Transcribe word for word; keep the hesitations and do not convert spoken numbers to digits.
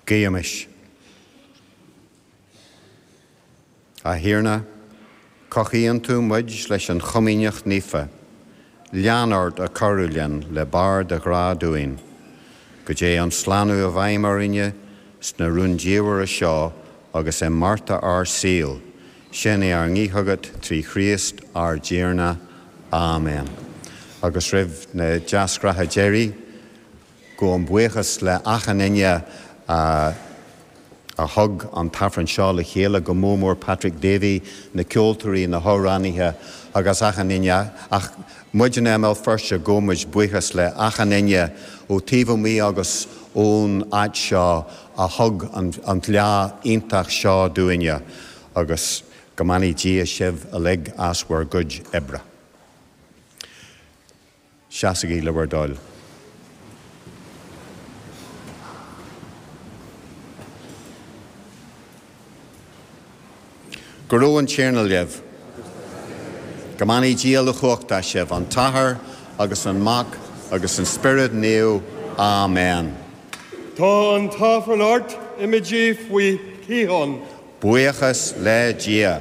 Guímis. A Thiarna, cothaíonn tú muid leis an Chomaoineach Naofa, lean ort ag cabhrú linn le barr do ghrá dúinn, go dté an slánú i bhfeidhm orainne sna rúndiamhra seo agus i mbearta ár saoil, sin é ár nguí chugat trí Chríost ár dTiarna. Amen. Agus roimh na deasghnátha deiridh, gabhaim buíochas le achan duine a a thug an t-aifreann seo le chéile, go mór mór Patrick Davy, na ceoltóirí, na hamhránaithe agus achan duine. Ach muid in i mBéal Feirste, gabhaimid buíochas le achan duine ó taobh amuigh agus ón áit seo a thug an, an lá iontach seo dúinne agus go mbeannaí Dia sibh uilig as bhur gcuid oibre. Seasaigí le bhur dtoil. Go raibh an Tiarna libh. Go mbeannaí Dia uilechumhachtach sibh, an tAthair agus an Mac agus an Spiorad Naomh. Amen. Tá an t-aifreann ort, imígí faoi shíocháin. Buíochas le Dia.